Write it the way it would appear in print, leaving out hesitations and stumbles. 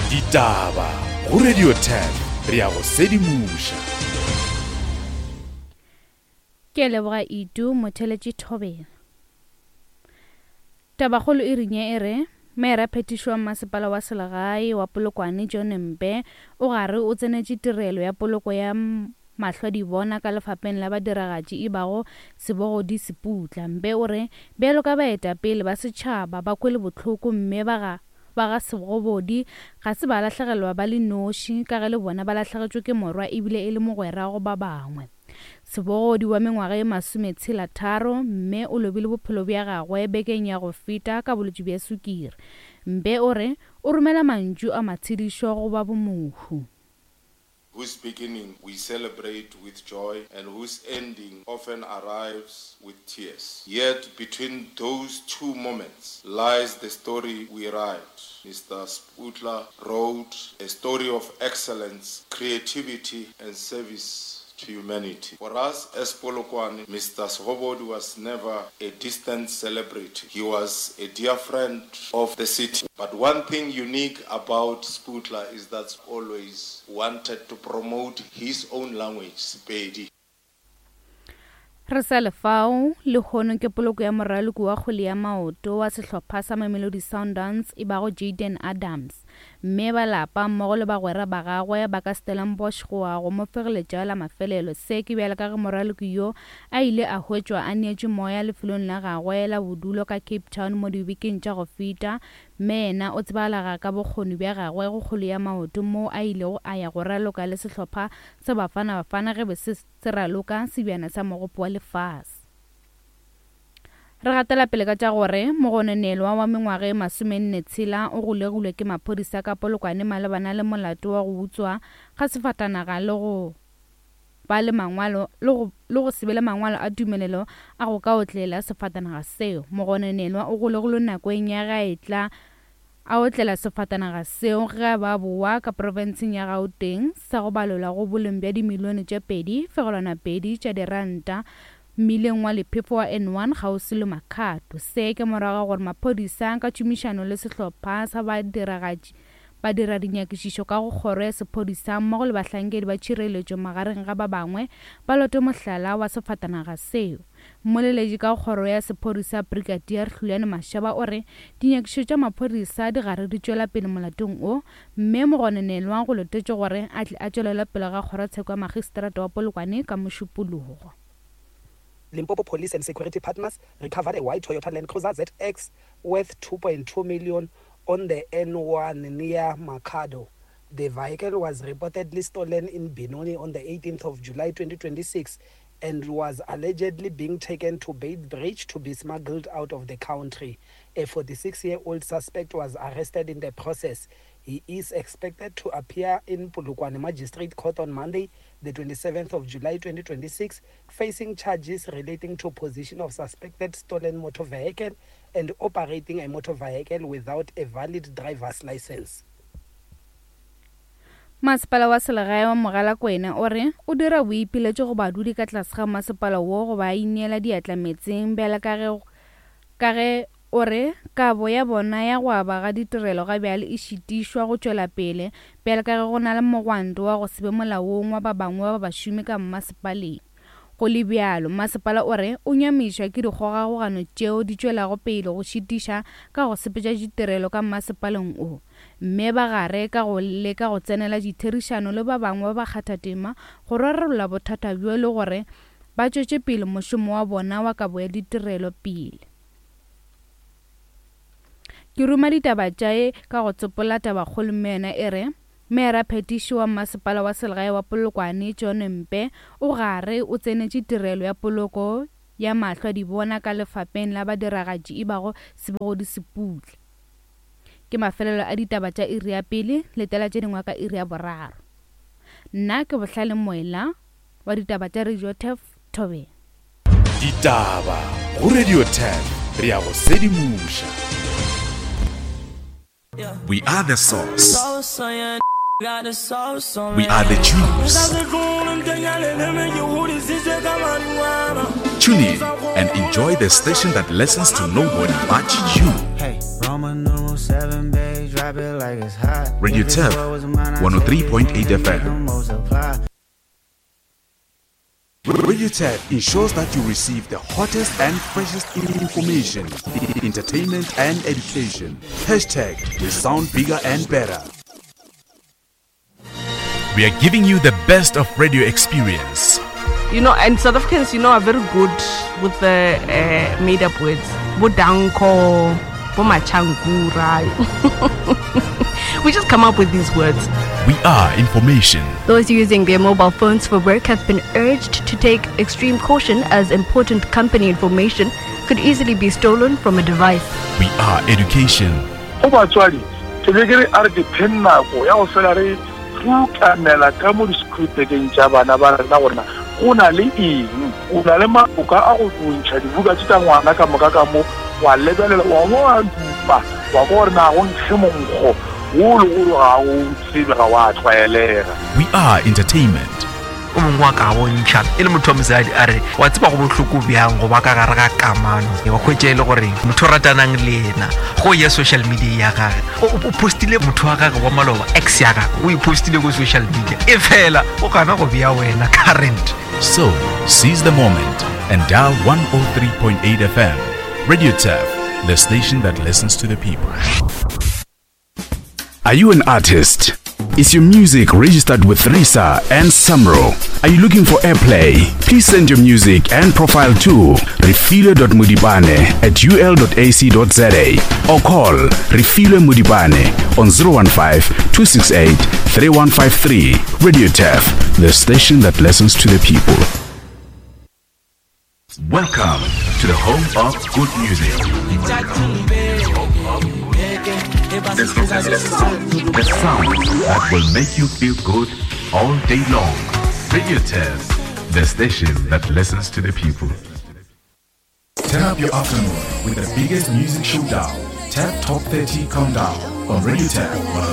Ditaba go Radio 10 re ya go sedimoša. Ke a leboga Itu motheletši Thobela. Tabakgolo e rinye e re, Meyara phetiši wa mmasepala wa selegae wa Polokwane John Mpe o gare o tsenetše tirelo ya poloko ya mahlwadibona ka lefapeng la badiragatši e bago Sebogodi Seputla. Mpe o re bjalo ka baetapele ba setšhaba ba kwele bohloko mme ba ga ba ga Sebogodi ga se ba lahlegelwa ba le noši ka ge le bona ba lahlegetšwe ke morwa ebile e le mogwera go ba bangwe. Sebogodi wa mengwaga ye masometshela tharo mme o lobile bophelo bja gagwe bekeng ya go feta ka bolwetši bja sukiri. Mpe o re o romela mantšu a matshedišo go ba bomohu. Whose beginning we celebrate with joy and whose ending often arrives with tears. Yet between those two moments lies the story we write. Mr. Sputla wrote a story of excellence, creativity and service to humanity. For us as Polokwane, Mr. Sgobodi was never a distant celebrity. He was a dear friend of the city. But one thing unique about Sputla is that always wanted to promote his own language, Sepedi. Re sa le fao, lehono ke poloko ya moraloki wa kgwele ya maoto wa sehlopha sa Mamelodi Sundowns e bago Jayden Adams. Mme ba lapa mmogo le bagwera ba gagwe ba ka Stellenbosch go ya go mo fegeletša la mafelelo. Se ke bjalo ka ge moraloki yo a ile a hwetšwa a neetšwe moya lefelong la gagwe la bodulo ka Cape Town mo dibekeng tša go feta Mme yena o tsebalaga ka bokgoni bja gagwe go kgwele ya maoto moo a ilego a ya go raloka le sehlopha sa Bafana Bafana ge be se se raloka sebjana sa Mogopo wa Lefase. Re gatela pele ka tša gore mogononelwa wa mengwaga e masomenne tshela o golegilwe ke maphodisa ka Polokwane malebana le molato wa go utswa ga sefatanaga le go ba le mangwalo le go, le go se be le mangwalo a tumelelo a go ka otlela sefatanaga seo. Mogononelwa o golegilwe nakong ya ge a etla a otlela sefatanaga seo ge a ba bowa ka profenseng ya Gauteng sa go balelwa go boleng bja dimilione tše 2.2 tša diranta mmileng wa lephefo wa N1 kgauswi le Makhado. Se ke morago ga gore maphodisa ka tšhomišano le sehlopha sa badiragatši Badiradinyakišišo ka go Kgoro ya Sephodisa mmogo le bahlankedi ba tšhireletšo magareng ga ba bangwe ba lote mohlala wa sefatanaga seo. Mmoleletši ka go Kgoro ya Sephodisa Brigadier Hlulani Mashaba o re dinyakišišo tša maphodisa di gare di tšwela pele molatong wo mme mogononelwa go letetšwe gore a tle a tšwelele pele ga Kgorotsheko ya Magistrata wa Polokwane ka Mošupologo. Limpopo Police and security partners recovered a white Toyota Land Cruiser ZX worth 2.2 million on the N1 near Makhado. The vehicle was reportedly stolen in Benoni on the 18th of July 2026 and was allegedly being taken to Beitbridge to be smuggled out of the country. A 46-year-old suspect was arrested in the process. He is expected to appear in Polokwane Magistrate Court on Monday, the 27th of July 2026, facing charges relating to possession of suspected stolen motor vehicle and operating a motor vehicle without a valid driver's license. Masepala wa selegae wa Mogalakwena o re o dira boipiletšo go badudi ka tlase ga masepala wo go ba ineela diatla meetseng bjale ka ge ka ge o re kabo ya bona ya go aba ga ditirelo ga bjale e šitišwa go tšwela pele bjale ka ge go na le mogwanto wa go se be molaong wa ba bangwe ba bašomi ka mmasepaleng. Go le bjalo, masepala o re o nyamišwa ke dikgogakgogano tšeo di tšwelago pele go šitiša ka go sepetša ditirelo ka mmasepaleng wo, mme ba gare ka go leka go tsenela ditherišano le ba bangwe ba bakgathatema go rarolla bothata bjo le gore ba tšwetše pele mošomo wa bona wa kabo ya ditirelo pele. Ke ruma ditaba tša e ka go tsopola tabakgolo mme yona e re, Meyara-phetiši wa Mmasepala wa Selegae wa Polokwane, John Mpe, o gare o tsenetše tirelo ya poloko ya mahlo a dibona ka lefapeng la badiragatši e bago Sebogodi Seputla. Ke mafelelo a ditaba tša iri ya pele, letela tše dingwe ka iri ya boraro. Nna ke Bohlale Moela wa ditaba tša Radio Turf, Thobela. Ditaba go Radio 10 re ya go sedimoša. We are the source. We are the juice. Tune in and enjoy the station that listens to nobody but you. Radio Turf 103.8 FM. Radio Turf ensures that you receive the hottest and freshest information, entertainment and education. Hashtag we sound bigger and better. We are giving you the best of radio experience. You know, and South Africans, you know, are very good with the uh, made up words. Bodanko, Bomachankura. we just come up with these words. We are information. Those using their mobile phones for work have been urged to take extreme caution as important company information could easily be stolen from a device. We are education. Go batswadi, ke be ke re a re ke pheng nako ya go fela re rukanela ka mo di-schoolbageng tša bana ba rena gore na go na le eng. O na le maoka a go ntšha dibuka tše tša ngwana ka moka ka mo, wa lebelela, wa bo wa dupa, wa kwa gore na go nkge monkgo wo le gore ga o tsebe, ga wa tlwaelega. We are entertainment. O mongwe wa ka bontšha e le motho wa mosadi a re wa tseba go bohloko bjang go ba ka gare ga kamano wa kgwetša e le gore motho o ratanang le yena go ya social media ya gage o postile motho wa gage wa maloba ex ya gage o e postile ko social media e fela o gana go bea wena current. So, seize the moment and dial 103.8 FM. Radio Turf, the station that listens to the people. Are you an artist? Is your music registered with RISA and SAMRO? Are you looking for airplay? Please send your music and profile to refile.mudibane at ul.ac.za or call Refile Mudibane on 015 268 3153. Radio Turf, the station that listens to the people. Welcome to the home of good music. The sound that will make you feel good all day long. Radio Tez, the station that listens to the people. Turn up your afternoon with the biggest music showdown. Tap Top 30 Countdown on Radio Tap